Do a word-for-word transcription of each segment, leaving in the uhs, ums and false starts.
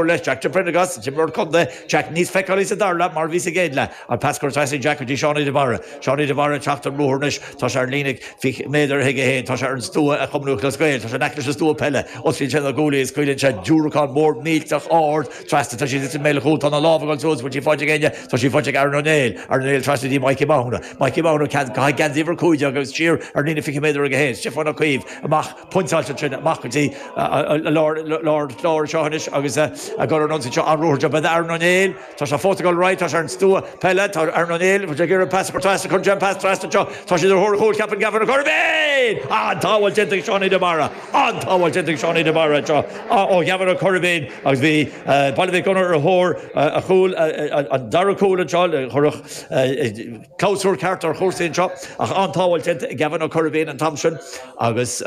Leis Jack de Prendergast, imreoir contae, Jack níos feiceálaí sa dara leath mar a bhí sa gcéad leath. An pas curtha trasna ag Jack go dtí Seánie de Barra. Seánie de Barra ag teacht an ruathar anois. Tá sé ar líne fiche méadar chuige féin. Tá sé ar an stua ag Cumann Lúthchleas Gael. Tá sé in aice leis an stua peile. Osclaíonn sé na guaillí is scaoileann sé diúracán mór millteach ard trasna. Tá sí i mbéal an chúil. Tá na lámha ag dul suas. Bhfuil sí faighte ag éinne? Tá sí faighte ag Aaron O'Neill. Aaron O'Neill trasna go dtí Mikey Mathúna. Mikey Mathúna caithfidh geansaí uimhir a cúig déag agus siar ar líne fiche méadar chuige féin. Stiofán Ó Caoimh amach pointeáilte ansin amach go dtí lár lár lár anseo anois agus ag dul ar an ionsaí seo an ruathar job Aaron O'Neill. Tá sé fós ag dul ar aghaidh, tá sé ar an stua peile, tá Aaron O'Neill, ag iarraidh pas a chur trasna, cuireann sé an pas trasna anseo, tá siad ar thóir an chúil, ceapann Gavin Ó Coirbín! An-tsábháil déanta ag Seánie de Barra! An-tsábháil déanta ag Seánie de Barra anseo ó Gavin Ó Coirbín agus bhí Baile Mhic Gonair ar thóir a chúil, an dara cúl anseo, chuirfeadh clabhsúr ceart ar chúrsaí anseo ach an-tsábháil déanta ag Gavin Ó Coirbín an t-am sin agus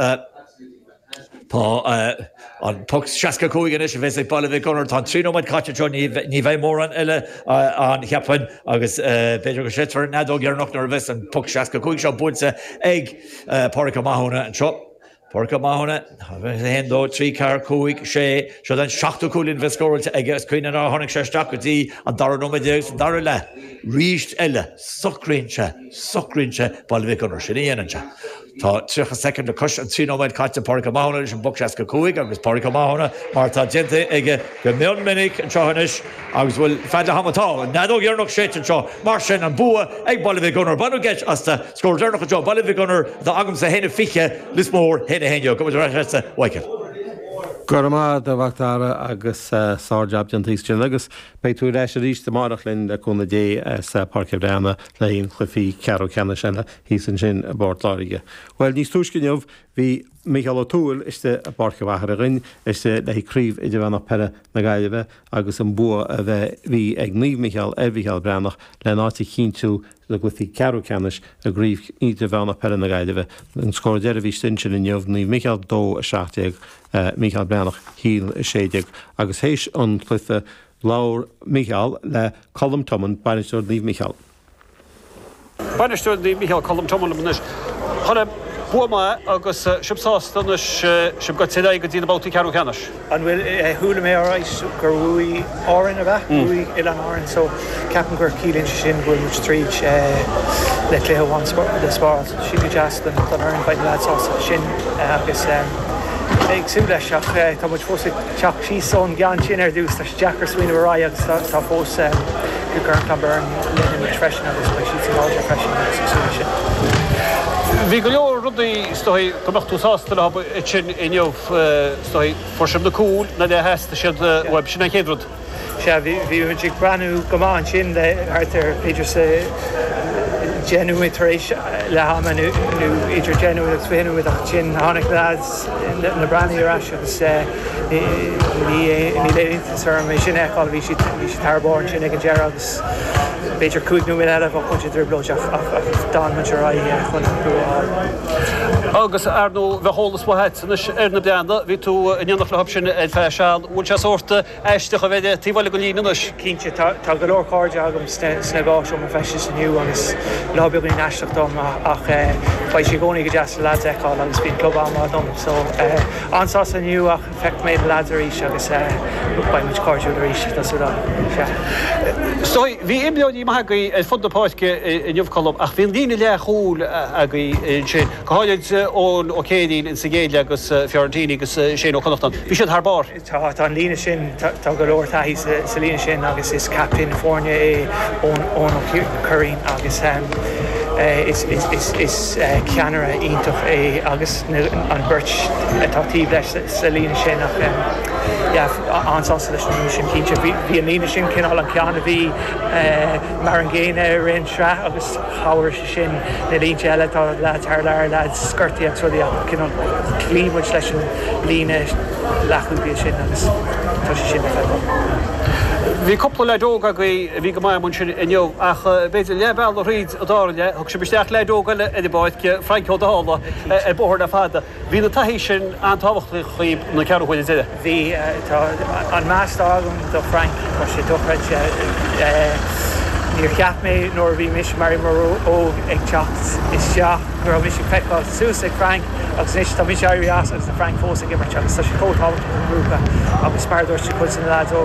Tá an poc seasca cúig anois a bheas ag Baile Mhic Gonair. Tá an trí nóiméad caite anseo, ní bheidh mórán eile ann, cheapfainn, agus b'fhéidir go séidfear an fheadóg dheireanach nuair a bheas an poc seasca cúig seo buailte ag Pádraic Ó Mathúna anseo. Pádraic Ó Mathúna, a haon, dó, trí, ceathair, cúig, sé, seo an seachtú cúilín a bheas scóráilte aige is cuimhin nár tháinig sé isteach go dtí an dara nóiméad déag sa dara leath. Arís eile, socraíonn sé, socraíonn sé Baile Mhic Gonair, sin a dhéanann sé. Tá tríocha soicind le cois an trí nóiméad caite, Pádraic Ó Mathúna leis an bpoc seasca cúig agus Pádraic Ó Mathúna mar atá déanta aige go mion minic anseo anois agus bhfuil fad le ham atá an fheadóg dheireanach séidte anseo mar sin an bua ag Baile Mhic Gonair. Baineadh geit astu. Scór deireanach anseo Baile Mhic Gonair atá agamsa a haon a fiche Lios Mór, a haon a haon déag. Gabh muid ar ais leatsa, a Mhichael. Go raibh maith agat a Mhac Dara agus sár-jab déanta thíos ansin agus beidh tú ar ais arís amárach linn le cúnamh Dé as Páirc an Bhreathnaigh le haghaidh an chluichí ceathrú ceannais eile thíos ansin i bPort Láirge. Bhuel níos túisce inniu bhí Mícheál Ó Tuathail istigh i bPáirc an Mhachaire Dhoinn istigh le haghaidh Craobh Idirmheánach Peile na Gaillimhe agus an bua a bheith bhí ag Naomh Micheál ar Mhícheál Breathnach lena áit a chinntiú i gcluichí ceathrú ceannais i gCraobh Idirmheánach Peile na Gaillimhe. An scór deiridh a bhí istigh ansin inniu, Naomh Micheál dó a seacht déag, Mícheál Breathnach a haon a sé déag agus théis an chluiche labhair Mícheál le Colm Tomin, bainisteoir Naomh Micheál. Bainisteoir Naomh Micheál, Colm Tomin liom anois. Colm, bua maith agus sibh sásta anois, sibh gaibhte ar aghaidh go dtí na babhtaí ceathrú ceannais. An bhfuil, chuala mé arís gur bhuaigh Árainn, ab ea? Bhuaigh Oileáin Árann so ceapaim gur ciallaíonn sé sin go bhfuil muid tríd le cluiche amháin le spáráil. Sin go deas don fhoireann, beidh na leaids sásta leis sin agus ag súil leis ach tá muid fós ag teacht síos ón gceann sin ar dtús, tá sé deacair smaoineamh ar aghaidh agus tá fós Gormfhlaith Byrne linn anois freisin agus beidh siadsan láidir freisin agus ag súil leis sin. Bhí go leor rudaí is dóigh go mbeadh tú sásta leo ansin inniu, is dóigh, fuair sibh na cúil nuair a theastaigh siad uaibh, sin an chéad rud. Sea, bhí, bhí muid ag breathnú go maith ansin le thart ar b'fhéidir sa deich nóiméad tar éis leath ama nó idir deich nóiméad agus fiche nóiméad ach ansin tháinig na lads, na Breathnaigh ar ais agus ní níl aon iontas orm é sin a fheiceáil, bhí siad, bhí siad thar barr ansin ag an deireadh agus b'fhéidir cúig nóiméad eile bheadh muid i dtrioblóid ach d'fhan muid ar aghaidh chun an bua a fháil. Agus ar ndóigh bheadh eolas maith agat anois ar na Breathnaigh, bhí tú in éineacht leo sin ar feadh seal, bhfuil sé sórt aisteach a bheith taobh eile den líne anois? Cinnte, tá go leor cairde agam sna dhá seomra feistis inniu agus lá beagáinín aisteach dom ach beidh sé i gcónaí go deas na lads a fheiceáil agus bíonn club an-mhaith dom so an-sásta inniu ach feicfidh mé na lads arís agus beidh muid cairdiúil arís, tá súil agam. Sea. So, bhí imreoirí maithe agaibh ar fud na páirce inniu, Colm, ach bhí an líne leathchúil agaibh ansin, go háirid Eoin Ó Céirín insa gcéad leath agus Fiorentini agus Shane Ó Connachtáin. Bhí siad thar barr. Tá, tá an líne sin, tá go leor taithí sa líne sin agus is captaen foirne é Eoin Ó Curraoin agus is is ceannaire iontach é agus an bheirt atá taobh leis sa líne sin ach yeah an-sásta leis an líne sin cinnte. Bhí an líne sin cineál an ceann a bhí mar an gcéanna i rith an tsraith agus chabhraigh sé sin na línte eile, tá leaids thar lear, leaids gortaithe agus rudaí ach cineál chloígh muid leis an líne leathchúlaí sin agus tá sé sin le feiceáil. Bhí cúpla leaid óg agaibh a bhí go maith ansin inniu ach b'fhéidir leath bealaigh thríd an dara leath, thug sibh isteach leaid óg eile ar an bpáirc, Frank Ó Dálaigh, ar bóthar le fada. Bhí na taithí sin an-tábhachtach dhaoibh na ceathrú huaire deiridh. Bhí, tá an meas atá agam do Frank, tá sé dochreidte. Níor cheap mé nuair bhí mise mar imreoir óg ag teacht isteach go raibh mise ag feiceáil suas ag Frank agus anois tá mise éirithe as agus na Frank fós ag imirt agus tá sé chomh tábhachtach an grúpa agus mar dúirt cuid na lads óga